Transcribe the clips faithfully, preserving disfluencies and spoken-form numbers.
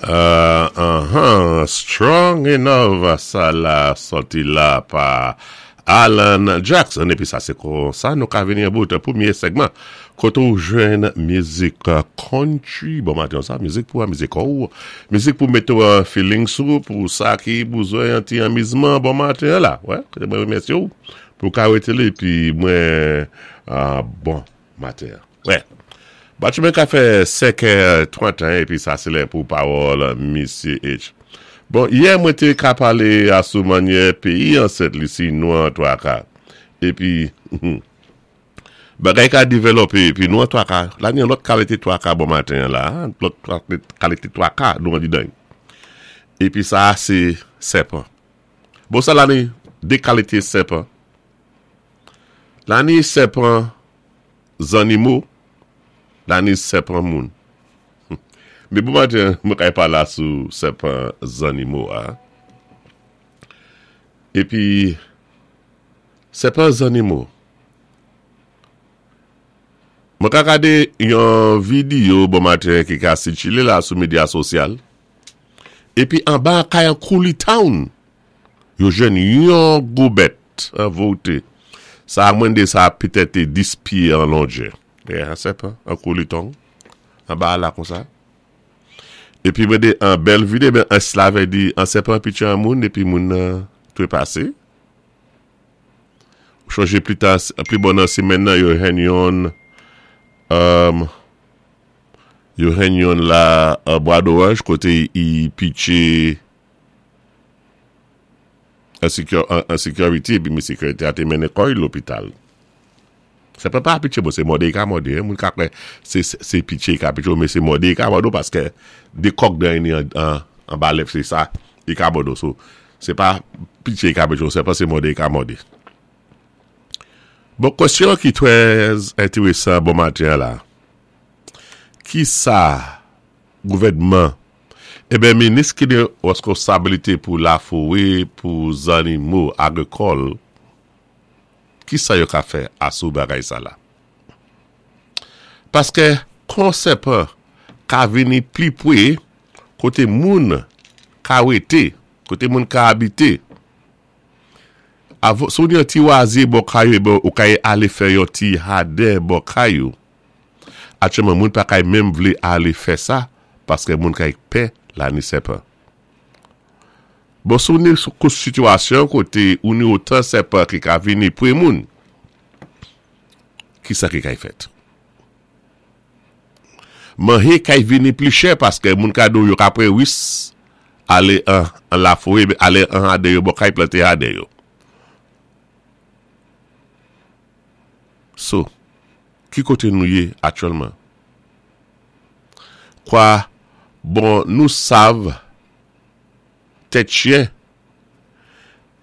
Uh, uh-huh. Strong Enough, sa la sòti la pa Alan Jackson. Épi sa sé kon sa nou ka vini an bout pwémyé segman. Koté ou jwenn mizik country. Bon maten sa, mizik pou mizik ou. Mizik pou mété an feeling sou pou sa ki bezwen yon ti anmizman bon maten la. Wè, mwen remèsyé ou pou ka wété li pi mwen uh, bon maten. Wè. Batchou mwen ka fè senk trant-e-en épi sa sé lè pou pawòl Missy H. Bon, yè mwen té ka palé asou mannyè péyi an Sent Lisi nou an twaka. Épi, bagay ka dévlopé, épi nou an twaka. La ni an lòt kalité twaka bon maten la, lòt kalité twaka nou an didan. Épi sa sé sèpan. Bon sa la ni dé kalité sèpan. La ni sèpan zannimo, la ni sèpan moun. Mé bon maten, mwen kay pala sou sèpan zannimo a. Épi, sèpan zannimo. Mwen ka gadé yon videyo bon maten ki ka sikilé la sou medya sosyal. Épi anba kay an Coulee Town, yo jwenn yon gwo bèt an vote. Sa mwen dé sa petèt dis pyé an longè. E an sèpan, an Coulee Town, anba la kon sa. Épi mwen dé an bèl videyo, ben an slave di an sèpan pitché an moun, épi moun uh, twépasé. Chonjé pli ta, pli bon nan simenn nan yo jwenn yon um, yo jwenn yon la uh, Bois d'Orange koté i pitché an security, épi mi security a té mennen kò'y lopital. Sèpan pa pitché, bon, sé mòdé i ka mòdé, moun ka kwè sé, sé pitché i ka pitché, mé sé mòdé i ka mòdé paské dé kòk dan ni an, an, anba lèv, sé sa, i ka mòdé. So, sé pa pitché i ka pitché, sé pa sé mòdé i ka mòdé. Bon, kwèsyon ki trè entérésan bon maten la. Ki sa gouvèdman, eh ben minis ki ni weskonsabilité pou laforè, pou zannimo agrikòl, ki sa yo ka fè asou bagay sa la? Paské kon sèpan ka vini pli pwé koté moun ka wété, koté moun ka habité. Avo, sou ni yon ti wazye bò kay ou, bon, ou kay alé fè yon ti jaden bò kay ou. Aktyèlman moun pa kay menm vlé alé fè sa, paské moun kay pè la ni sèpan. Bon, sou ni sou kou sitiyasyon koté ou ni otan sèpan ki ka vini pwé moun, ki sa ki kay fèt? Manjé kay vini pli chè paské moun ka do yo ka pran wis alé an, an laforè, alé an jaden yo, bò kay planté jaden yo. So, ki koté nou yé aktyèlman? Kwa, bon, nou sav tèt chyen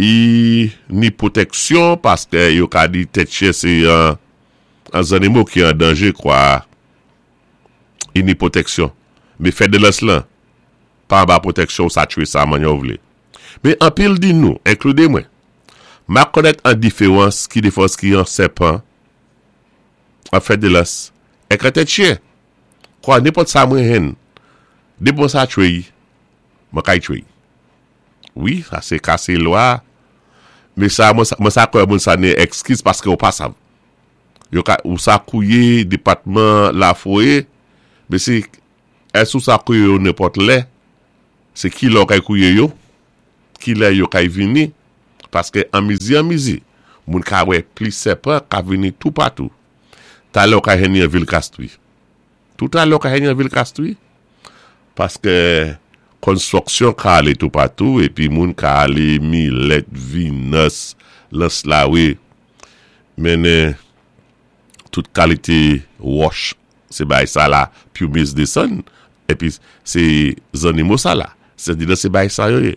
i ni pwotèksyon paské yo ka di tèt chyen sé an, an zannimo ki an danjé kwa i ni pwotèksyon. Mé fè de lans lan, pa anba pwotèksyon sa tchwé sa mannyè ou vlé. Mé anpil di nou, enkludé mwen, ma konnèt an diféwans ki diféwans ki an sèpan, an fè de lans, èk an tèt chyen. Kwa nenpòt sa mwen jwenn, dépi mwen sa tchwé, mwen kay tchwé. Wi, sa sé kasé lwa. Mé sa, mwen sa, mwen sa kwè moun sa ni ekskiz paské ou pa sav. Yo ka, ou sa kouwé dépatman laforè, mé sé, ès ou sa kouwé yo nenpòt lè, sé ki lè ou kay kouwé yo, ki lè yo kay vini, paské an mizi an mizi, moun ka wè plis sèpan ka vini toupatou. Talè ou ka jwenn ni an vil Castries. Toutalè ou ka jwenn ni an vil Castries, paské konstwiksyon ka alé toupatou, épi moun ka alé Millet, Vinas, L'Anse-la-Raye, mennen tout kalité wòch, sé bay sa la, pumice désann, épi sé zannimo sa la, sé di sé bay sa yo yé.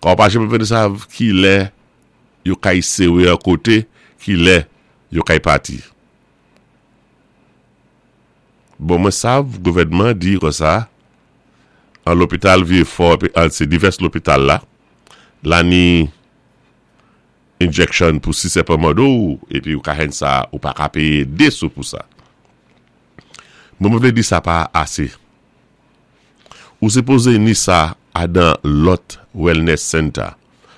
Kwa pa janm vini sav ki lè yo kay séwé an koté, ki lè yo kay pati. Bon, mwen sav, gouvèdman di kon sa, an lopital Vieux-Fort, an sé divès lopital la, la ni injection pou si sèpan mòdé ou, épi ou ka jwenn sa, ou pa ka péyé dé sou pou sa. Mwen mwen vlé di sa pa asé. Ou sipozé ni sa adan lòt wellness center.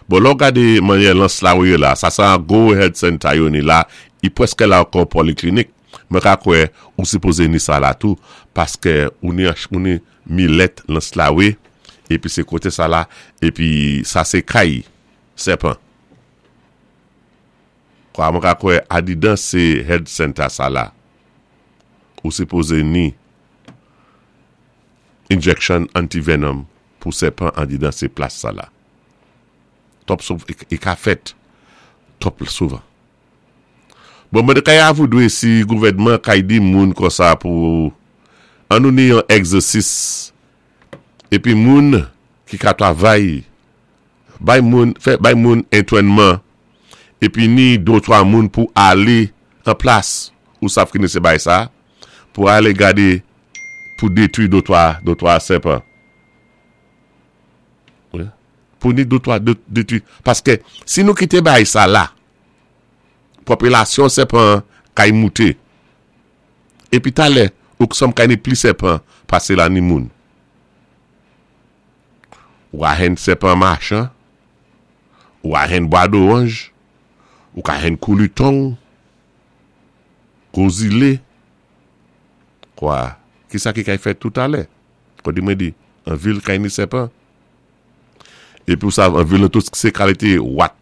Bon, lò gadé mannyè L'Anse La yé la, sa sa an gwo health center yo ni la, i pwèskè la kon poliklinik. Mwen ka kwè ou sipozé ni sa la tou, paskè ou ni, ou ni milèt L'Anse La wé, épi sé koté sa la, épi sa sé kay sèpan. Kwa mwen ka kwè adidan sé health center sa la, ou sipozé ni injection antivenom pou sèpan adidan sé plas sa la. Twòp sou, i ka fèt twòp souvan. Bon, mwen kay avou dwé si gouvèdman kay di moun konsa pou an nou ni yon egzèsis épi moun ki ka travay bay moun, fè bay moun antwénman épi ni dé twa moun pou alé an plas ou sav ki ni sé bay sa pou alé gadé pou détwi dé twa, dé twa sèpan. Wi. Pou ni dé twa détwi. Paskè si nou kité bay sa la, popilasyon sèpan kay mouté. Épi talè, ou k sòm kay ni pli sèpan pasé la ni moun. Ou a jwenn sèpan machan, ou a jwenn bwa doranj, ou ka jwenn koulitong, kozilé. Kwa, ki sa ki kay fèt tout alè? Kwa di mwen di, an vil kay ni sèpan. Épi ou sav, an vil nan tout sé kalité wat.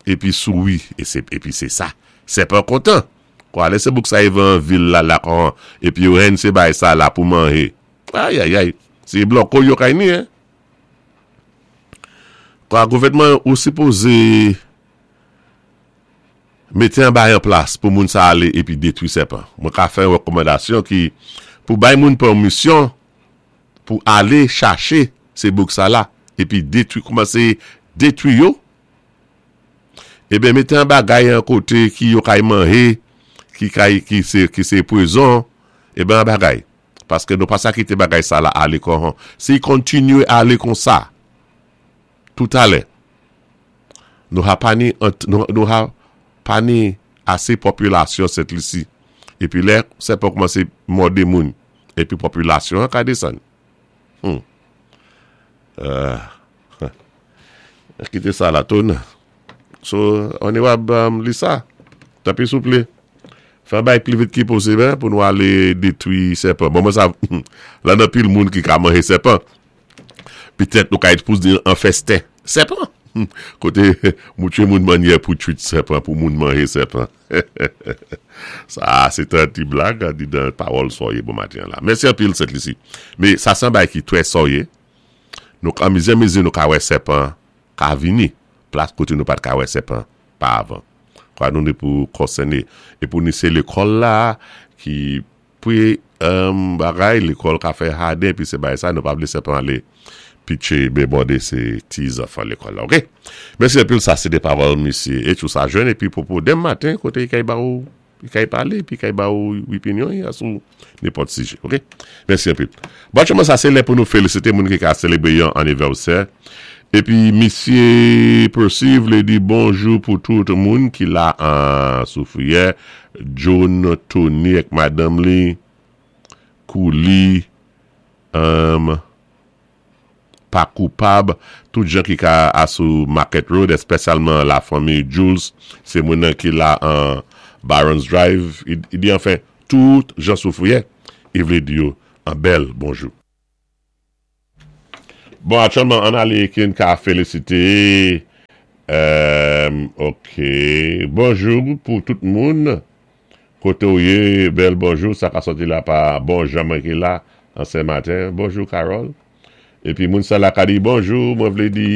Épi souwi, é sé, épi sé sa. Sèpan kontan. Kwa, lè sé bouk sa yo an vil la la kon, épi yo jwenn sé bay sa la pou manjé. Ay, ay, ay. Sé bloko yo kay ni, hein. Kwa, gouvèdman ou sipozé mété an bay an plas pou moun sa alé épi détwi sèpan. Mwen ka fè yon rekòmandasyon ki pou bay moun pèmisyon pou alé chaché sé bouk sa la épi détwi, kòmansé détwi yo. Eben mété an bagay an koté ki yo kay manjé, ki kay, ki sé, ki sé pwazon, eben an bagay. Paskè nou pa sa kité bagay sa la alé kon. Si kontinyé alé kon sa, tout alè, nou ha pa ni, nou, nou ha pa ni asé popilasyon Sent Lisi. Épi lè, sèpan kòmansé mòdé moun. Épi popilasyon an ka désann. Hmm. Euh, kité sa la toune. So, Onorab um, Lisa, tanpwi souplé. Fè bay pli vit ki posib hein, pou nou alé détwi sèpan. Bon, mwen sa, la nan pil moun ki ka manjé sèpan. Petèt nou ka expose an festen sèpan. Koté moutwé moun mannyè pou twit sèpan, pou moun manjé sèpan. Sa, sé an ti blag, di dan pawòl soyé bon maten la. Mèsi anpil Sent Lisi. Mé sa san bay ki twè soyé. Nou an mizè mizè nou ka wè sèpan ka vini. Plas koté nou pat ka wè sèpan pa avan. Kwa nou ni pou konsèné. É pou ni sé lékòl la ki pou um, bagay, lékòl ka fè jaden, pi sé bay sa, nou pa vlé sèpan alé pitché bé mòdé sé ti zanfan lékòl la, ok? Mèsi anpil, sa sé dé pawòl misyé et tout sa jwenn, épi pou pou denmen maten, koté i kay ba ou, i kay palé, pi kay ba ou opinyon, y a sou nenpòt sijè, ok? Mèsi anpil. Bon, aktyèlman sa sé lè pou nou félisité moun ki ka sélébré yon anivèsè. Épi misyé Percy vlé di bonjou pou tout moun ki la an Soufrière, John, Tony ak madanm li, Kouli, um, pa koupab, tout jan ki ka asou Market Road, espesyalman la fanmi Jules, sé moun nan ki la an Barons Drive, i, i di anfen, tout jan Soufrière, i vlé di yo an bèl bonjou. Bon, aktyèlman, an alé ki ka félisité, euh, ok, bonjou pou tout moun, koté ou yé, bèl bonjou, sa ka sòti la pa bon jan mwen ki la, an sé maten, bonjou Carole. Épi moun sa la ka di bonjou, mwen vlé di,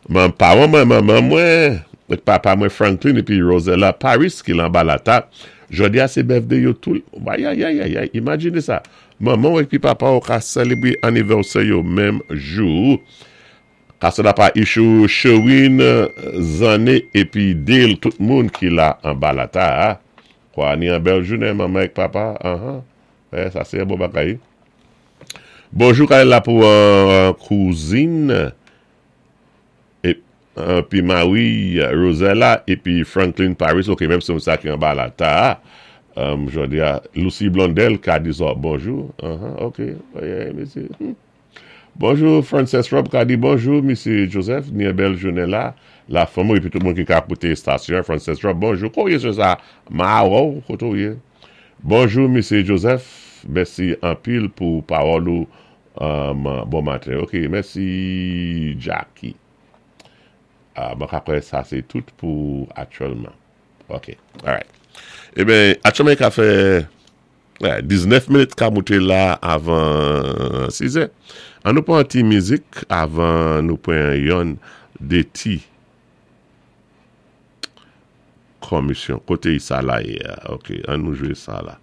man pawan mwen, manman mwen, ek papa mwen Franklin, épi Rosella Paris ki lan balata, jodi a sé birthday yo tout, ay ay ay ay ay, imajiné sa, manman épi papa ou ka sélébré anivèsè yo menm jou, ka sa la pa Ishou Sherwin Zané épi Dale, tout moun ki la an balata, kwa ni an bèl jounen, manman ek papa, uh-huh. Eh, sa sé bon bagay. Bonjou kay la pou uh, kouzin é uh, pi Marie Rosella épi Franklin Paris, ok, menm sé sa ki an balata. Um, jòdi a, Lucy Blondel ka di zòt bonjou. Uh-huh, ok, yeah, mèsi. Hmm. Bonjou Frances Rob ka di bonjou, Misye Joseph, ni bèl jounen la. La fanmi épi tout moun ki ka kouté estasyon. Frances Rob, bonjou. Kote sé sa? Mawo, koté yé. Bonjou, Misye Joseph. Mèsi anpil pou pawòl ou. Um, bon maten. Ok, mèsi Jackie. Uh, bon, apwé sa, sé tout pou aktyèlman. Ok, alright. Eben, aktyèlman, ka fè wè, diznèf minit ka mouté la avan sis è. An nou pwan ti mizik avan nou pwan yon dé ti komisyon. Koté sa la yé. Ok, an nou jwé sa la.